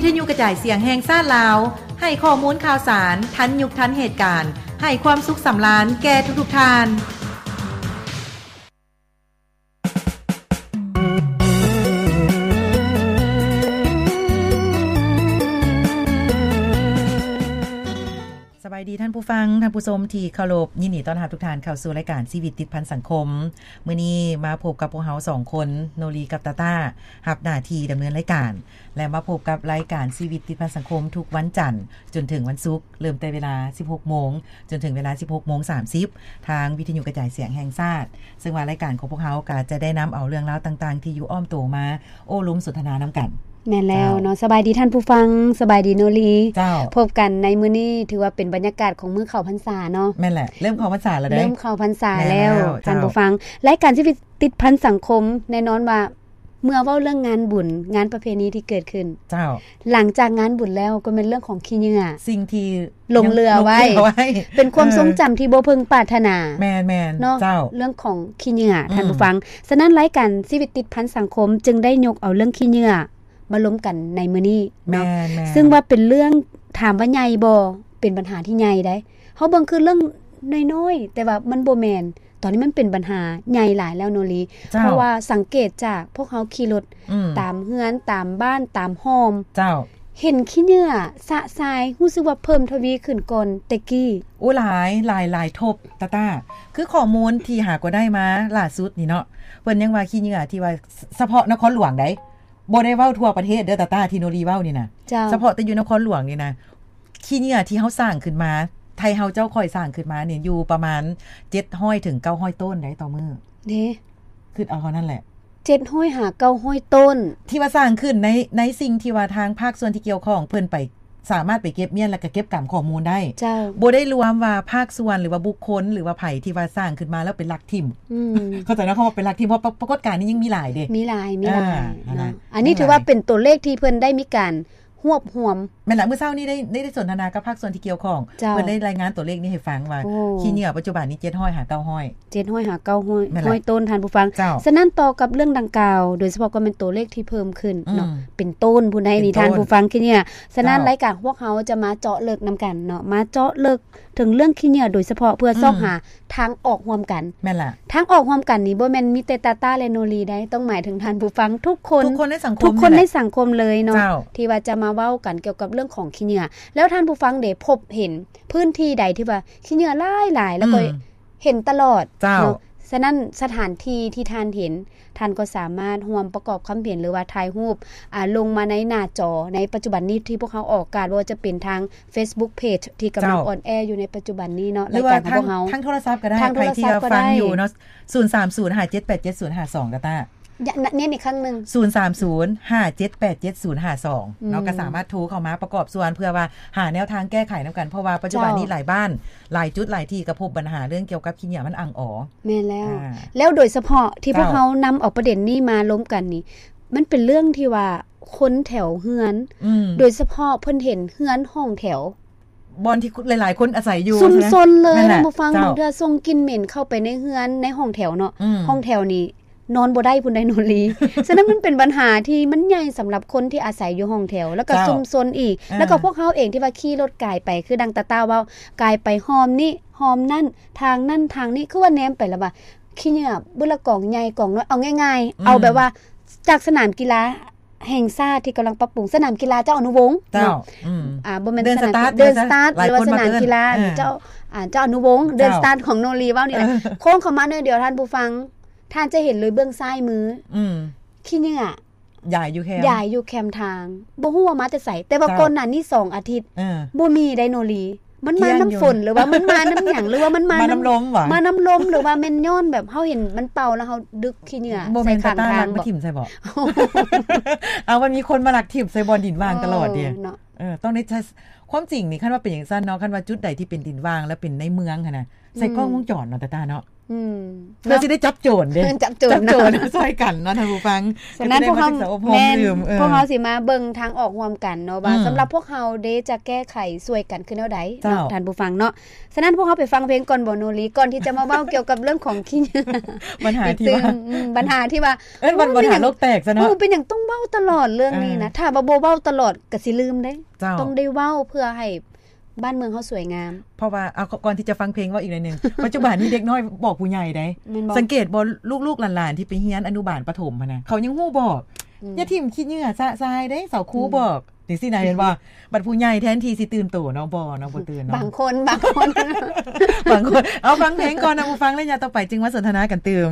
ວິທະຍຸກະຈາຍສຽງແຫ່ງຊາດລາວ ໃຫ້ຂໍ້ມູນຂ່າວສານທັນຍຸກທັນເຫດການ, ໃຫ້ຄວາມສຸກສຳລານແກ່ທຸກໆທ່ານ. ສະບາຍດີທ່ານຜູ້ຟັງ, ທ່ານຜູ້ຊົມທີ່ເຄົາລົບ, ຍິນດີຕ້ອນຮັບທຸກທ່ານເຂົ້າສູ່ລາຍການຊີວິດຕິດພັນສັງຄົມ. ມື້ນີ້ມາພົບກັບພວກເຮົາສອງຄົນ, ໂນລີກັບຕາຕ້າ, ຮັບໜ້າທີ່ດຳເນີນລາຍການ ແລະ ມາພົບກັບລາຍການຊີວິດຕິດພັນສັງຄົມທຸກວັນຈັນຈົນເຖິງວັນສຸກ, ເລີ່ມແຕ່ເວລາສິບຫົກໂມງຈົນເຖິງເວລາສິບຫົກໂມງສາມສິບ ທາງວິທະຍຸກະຈາຍສຽງແຫ່ງຊາດ. ເຊິ່ງວ່າລາຍການຂອງພວກເຮົາກໍຈະໄດ້ນຳເອົາເລື່ອງລາວຕ່າງໆທີ່ຢູ່ອ້ອມໂຕມາໂອ້ລົມສົນທະນານຳກັນ. ແມ່ນແລ້ວເນາະ. ເຈົ້າ. ສະບາຍດີທ່ານຜູ້ຟັງ, ສະບາຍດີໂນລີ. ເຈົ້າ. ພົບກັນໃນມື້ນີ້ຖືວ່າເປັນບັນຍາກາດຂອງມື້ເຂົ້າພັນສາເນາະ. ແມ່ນແຫຼະ, ເລີ່ມເຂົ້າພັນສາແລ້ວເດ້. ເລີ່ມເຂົ້າພັນສາແລ້ວ. ແມ່ນແລ້ວ. ເຈົ້າ. ທ່ານຜູ້ຟັງ, ລາຍການຊີວິດຕິດພັນສັງຄົມ ແນ່ນອນວ່າ ເມື່ອເວົ້າເລື່ອງງານບຸນ, ງານປະເພນີທີ່ເກີດຂຶ້ນ, ເຈົ້າ, ຫຼັງຈາກງານບຸນແລ້ວກໍແມ່ນເລື່ອງຂອງຂີ້ເຫຍື້ອ, ສິ່ງທີ່ຫຼົງເຫຼືອໄວ້, ຫຼົງເຫຼືອໄວ້ ເປັນຄວາມ ເອີ ຊົງຈຳທີ່ບໍ່ເພິ່ງປາດຖະໜາ. ແມ່ນໆ ເນາະ. ເຈົ້າ. ເລື່ອງຂອງຂີ້ເຫຍື້ອ ອືມ ທ່ານຜູ້ຟັງ. ສະນັ້ນ ລາຍການຊີວິດຕິດພັນສັງຄົມຈຶ່ງໄດ້ຍົກເອົາເລື່ອງຂີ້ເຫຍື້ອມາລົມກັນໃນມື້ນີ້ເນາະ. ແມ່ນໆ. ຊຶ່ງວ່າເປັນເລື່ອງ ຖາມວ່າໃຫຍ່ບໍ່? ເປັນບັນຫາທີ່ໃຫຍ່ໃດ໋. ເຮົາເບິ່ງຄືເລື່ອງນ້ອຍໆ ແຕ່ວ່າມັນບໍ່ແມ່ນ. ຕອນນີ້ມັນເປັນບັນຫາໃຫຍ່ຫຼາຍແລ້ວໂນລີ. ເຈົ້າ. ເພາະວ່າສັງເກດຈາກພວກເຮົາຂີ່ລົດ ອືມ ຕາມເຮືອນ, ຕາມບ້ານ, ຕາມຮ່ອມ. ເຈົ້າ. ເຫັນຂີ້ເຫຍື້ອຊະຊາຍ ຮູ້ສຶກວ່າເພີ່ມທະວີຂຶ້ນກ່ອນແຕ່ກີ້. ໂອ້ ຫຼາຍ, ຫຼາຍ, ຫຼາຍທົບ, ຕາຕ້າ. ຄືຂໍ້ມູນທີ່ຫາກໍໄດ້ມາລ່າສຸດນີ້ເນາະ, ເພິ່ນຍັງວ່າຂີ້ເຫຍື້ອທີ່ວ່າສະເພາະນະຄອນຫຼວງໃດ໋. ບໍ່ໄດ້ເວົ້າທົ່ວປະເທດເດີ ຕາຕ້າ, ທີ່ໂນລີເວົ້ານີ້ນະ. ເຈົ້າ. ສະເພາະແຕ່ຢູ່ນະຄອນຫຼວງນີ້ນະ, ຂີ້ເຫຍື້ອທີ່ເຮົາສ້າງຂຶ້ນມາ, ໄທເຮົາເຈົ້າຂ້ອຍສ້າງຂຶ້ນມານີ້ ຢູ່ປະມານເຈັດຮ້ອຍເຖິງເກົ້າຮ້ອຍໂຕນໃດ໋ຕໍ່ມື້. ເດ້. ຄິດເອົາເທົ່ານັ້ນແຫຼະ. ເຈັດຮ້ອຍຫາເກົ້າຮ້ອຍໂຕນ ທີ່ວ່າສ້າງຂຶ້ນໃນ, ໃນສິ່ງທີ່ວ່າທາງພາກສ່ວນທີ່ກ່ຽວຂ້ອງເພິ່ນໄປ ສາມາດໄປເກັບມ້ຽນ ແລ້ວກໍເກັບກຳຂໍ້ມູນໄດ້. ເຈົ້າ. ບໍ່ໄດ້ລວມວ່າພາກສ່ວນ ຫຼືວ່າບຸກຄົນ ຫຼືວ່າໃຜທີ່ວ່າສ້າງຂຶ້ນມາແລ້ວໄປລັກຖິ້ມ. ອືມ. ເຂົ້າໃຈເນາະ ຄຳວ່າໄປລັກຖິ້ມ, ເພາະປາກົດການນີ້ຍັງມີຫຼາຍເດ້. ມີຫຼາຍ, ມີຫຼາຍ ອ່າ ເນາະ. ອັນນີ້ຖືວ່າເປັນຕົວເລກທີ່ເພິ່ນໄດ້ມີການຮວບຮວມ. ແມ່ນລະ, ມື້ເຊົ້ານີ້ໄດ້, ໄດ້ສົນທະນາກັບພາກສ່ວນທີ່ກ່ຽວຂ້ອງ. ເຈົ້າ. ເພິ່ນໄດ້ລາຍງານຕົວເລກນີ້ໃຫ້ຟັງວ່າ ໂອ້ ຂີ້ເຫຍື້ອປັດຈຸບັນນີ້ເຈັດຮ້ອຍຫາເກົ້າຮ້ອຍ. ເຈັດຮ້ອຍຫາເກົ້າຮ້ອຍ ແມ່ນລະ ໂຕນ ທ່ານຜູ້ຟັງ. ເຈົ້າ. ສະນັ້ນ ຕໍ່ກັບເລື່ອງດັ່ງກ່າວ ໂດຍສະເພາະກໍແມ່ນຕົວເລກທີ່ເພີ່ມຂຶ້ນເນາະ. ອືມ. ເປັນໂຕນພຸ້ນໃດ໋ນີ້ ເປັນໂຕນ ທ່ານຜູ້ຟັງ ຂີ້ເຫຍື້ອ. ສະນັ້ນ ເຈົ້າ ລາຍການຂອງພວກເຮົາຈະມາເຈາະເລິກນຳກັນເນາະ, ມາເຈາະເລິກເຖິງເລື່ອງຂີ້ເຫຍື້ອໂດຍສະເພາະ ເພື່ອ ອືມ ຊອກຫາທາງອອກຮ່ວມກັນ. ແມ່ນລະ. ທາງອອກຮ່ວມກັນນີ້ບໍ່ແມ່ນມີແຕ່ຕາຕ້າ ແລະ ໂນລີໃດ໋, ຕ້ອງໝາຍເຖິງທ່ານຜູ້ຟັງທຸກຄົນ, ທຸກຄົນໃນສັງຄົມ, ທຸກຄົນໃນສັງຄົມເລີຍເນາະ. ເຈົ້າ. ທີ່ວ່າຈະມາເວົ້າກັນກ່ຽວກັບເລື່ອງຂອງຂີ້ເຫຍື້ອ. ແລ້ວທ່ານຜູ້ຟັງເດ ພົບເຫັນພື້ນທີ່ໃດທີ່ວ່າຂີ້ເຫຍື້ອຫຼາຍໆ ແລ້ວກໍ ອືມ ເຫັນຕະຫຼອດ ເຈົ້າ ເນາະ. ສະນັ້ນ ສະຖານທີ່ທີ່ທ່ານເຫັນ, ທ່ານກໍສາມາດຮ່ວມປະກອບຄຳເຫັນ ຫຼືວ່າຖ່າຍຮູບ ອາ ລົງມາໃນໜ້າຈໍໃນປັດຈຸບັນນີ້ ທີ່ພວກເຮົາອອກອາກາດ, ບໍ່ວ່າຈະເປັນທາງ Facebook Page ທີ່ກຳລັງ ເຈົ້າ ອອນແອຢູ່ໃນປັດຈຸບັນນີ້ເນາະ, ລາຍການຂອງພວກເຮົາ. ທາງໂທລະສັບກໍໄດ້, ທາງໂທລະສັບກໍໄດ້. ໃຜທີ່ວ່າຟັງຢູ່ເນາະ, ສູນສາມສູນ ຫ້າເຈັດແປດເຈັດ ສູນຫ້າສອງ ກໍຕາ ຍະ ນ- ເນັ້ນອີກຄັ້ງໜຶ່ງ ສູນສາມສູນ ຫ້າເຈັດແປດເຈັດ ສູນຫ້າສອງ ເນາະ. ອືມ ກໍສາມາດໂທເຂົ້າມາປະກອບສ່ວນ ເພື່ອວ່າຫາແນວທາງແກ້ໄຂນຳກັນ, ເພາະວ່າປັດຈຸບັນນີ້ ເຈົ້າ ຫຼາຍບ້ານ ຫຼາຍຈຸດ ຫຼາຍທີ່ ກໍພົບບັນຫາເລື່ອງກ່ຽວກັບຂີ້ເຫຍື້ອມັນອັ່ງອໍ. ແມ່ນແລ້ວ. ອ່າ ແລ້ວໂດຍສະເພາະທີ່ ເຈົ້າ ພວກເຮົານຳເອົາປະເດັນນີ້ມາລົມກັນນີ້ ມັນເປັນເລື່ອງທີ່ວ່າຄົນແຖວເຮືອນ ອືມ ໂດຍສະເພາະເພິ່ນເຫັນເຮືອນຫ້ອງແຖວ ບ່ອນທີ່ ຫຼາຍໆຄົນອາໄສຢູ່ ຊຸມຊົນເລີຍ ທ່ານຜູ້ຟັງ. ເຈົ້າ ບາງເທື່ອສົ່ງກິ່ນເໝັນເຂົ້າໄປໃນເຮືອນ ໃນຫ້ອງແຖວເນາະ. ອືມ ຫ້ອງແຖວນີ້ນອນບໍ່ໄດ້ພຸ້ນໃດ ໂນລີ. ສະນັ້ນ ມັນເປັນບັນຫາທີ່ມັນໃຫຍ່ສຳລັບຄົນທີ່ອາໄສຢູ່ຫ້ອງແຖວ ແລ້ວກໍ ເຈົ້າ ຊຸມຊົນອີກ. ເອີ ແລ້ວກໍພວກເຮົາເອງທີ່ວ່າຂີ່ລົດກາຍໄປ ຄືດັ່ງຕາຕ້າເວົ້າ, ກາຍໄປຮ່ອມນີ້ຮ່ອມນັ້ນ, ທາງນັ້ນທາງນີ້, ຄືວ່າແນມໄປແລ້ວວ່າ ຂີ້ເຫຍື້ອບຶດລະກອງໃຫຍ່ກອງນ້ອຍ. ເອົາງ່າຍໆ ອືມ ເອົາແບບວ່າ ຈາກສະໜາມກິລາ ແຫ່ງຊາດທີ່ກຳລັງປັບປຸງ, ສະໜາມກິລາເຈົ້າອະນຸວົງ ເຈົ້າ ເນາະ. ອືມ ອ່າ ບໍ່ແມ່ນ ເດີນສະຕາດ ເດີນສະຕາດ ເດີນສະຕາດ ຫຼືວ່າສະໜາມກິລາ ເອີ ເຈົ້າ ອ່າ ເຈົ້າອະນຸວົງ ເດີນສະຕາດຂອງໂນລີເວົ້ານີ້ແຫຼະ. ເອີ ໂຄ້ງເຂົ້າມາໜ້ອຍດຽວ ທ່ານຜູ້ຟັງ ທ່ານຈະເຫັນເລີຍເບື້ອງຊ້າຍມື ອືມ ຂີ້ເຫຍື້ອ ຢາຍຢູ່ແຄມ ຢາຍຢູ່ແຄມທາງ, ບໍ່ຮູ້ວ່າມາແຕ່ໃສ. ແຕ່ວ່າ ເຈົ້າ ກ່ອນໜ້ານີ້ສອງອາທິດ ເອີ ບໍ່ມີໄດໂນລີ. ມັນມານຳຝົນ ຫຼືວ່າມັນມານຳຫຍັງ ຫຼືວ່າມັນມານຳ ມານຳລົມຫວາ? ມານຳລົມ ຫຼືວ່າແມ່ນຍ້ອນແບບເຮົາເຫັນມັນເປົ່າ ແລ້ວເຮົາດຶກຂີ້ເຫຍື້ອໃສ່ຂ້າງທາງບໍ? ບໍ່ແມ່ນຕາຕາລັກມາຖິ້ມໃສ່ບໍ? ເອົາ ມັນມີຄົນມາລັກຖິ້ມໃສ່ບ່ອນດິນວ່າງຕະຫຼອດເດ. ເອີ ເນາະ ເອີ ຕ້ອງໄດ້ ຄວາມຈິງນີ້ ຄັນວ່າເປັນຈັ່ງຊັ້ນເນາະ, ຄັນວ່າຈຸດໃດທີ່ເປັນດິນວ່າງ ແລ້ວເປັນໃນເມືອງຫັ້ນນະ ໃສ່ ອືມ ກ້ອງວົງຈອນເນາະ ຕາຕາເນາະ. ອືມ ເພື່ອຊິໄດ້ຈັບໂຈນເດ້ ຈັບໂຈນ ຈັບໂຈນຊ່ອຍກັນເນາະທ່ານຜູ້ຟັງ. ສະນັ້ນພວກເຮົາ ແມ່ນ ພວກເຮົາຊິມາເບິ່ງທາງອອກຮ່ວມກັນເນາະ ວ່າ ອືມ ສຳລັບພວກເຮົາເດ້ຈະແກ້ໄຂຊ່ວຍກັນຄືແນວໃດເນາະ ເຈົ້າ ທ່ານຜູ້ຟັງເນາະ. ສະນັ້ນພວກເຮົາໄປຟັງເພງກ່ອນບໍ່ ໂນລີ ກ່ອນທີ່ຈະມາເວົ້າກ່ຽວກັບເລື່ອງຂອງຂີ້ເຫຍື້ອ ບັນຫາທີ່ວ່າ ອືມ ບັນຫາທີ່ວ່າ ເອີ້ນວ່າບັນຫາໂລກແຕກຊະເນາະ. ໂອ້ ເປັນຫຍັງຕ້ອງເວົ້າຕະຫຼອດເລື່ອງນີ້ນະ ເອີ ຖ້າວ່າບໍ່ເວົ້າຕະຫຼອດກໍຊິລືມເດ້. ເຈົ້າ ຕ້ອງໄດ້ເວົ້າເພື່ອໃຫ້ ບ້ານເມືອງເຮົາສວຍງາມ. ເພາະວ່າ ເອົາ ກ່ອນທີ່ຈະຟັງເພງ ເວົ້າອີກໜ້ອຍໜຶ່ງ ປັດຈຸບັນນີ້ເດັກນ້ອຍບອກຜູ້ໃຫຍ່ໃດ໋ ແມ່ນບໍ່? ສັງເກດບໍ່ ລູກໆຫຼານໆທີ່ໄປຮຽນອະນຸບານປະຖົມຫັ້ນນະ ເຂົາຍັງຮູ້ບອກ ອືມ ຢ່າຖິ້ມຂີ້ເຫຍື້ອຊະຊາຍເດ້ ເສົາຄູ ອືມ ບອກ ຈັ່ງຊີ້ນະ ເຫັນບໍ່? ບັດຜູ້ໃຫຍ່ແທນທີ່ຊິຕື່ນໂຕເນາະ ບໍ່ເນາະ ບໍ່ຕື່ນເນາະ ບາງຄົນ ບາງຄົນ ບາງຄົນ. ເອົາ ຟັງເພງກ່ອນນະ ຜູ້ຟັງ ແລະ ຍາມຕໍ່ໄປຈຶ່ງມາສົນທະນາກັນຕື່ມ.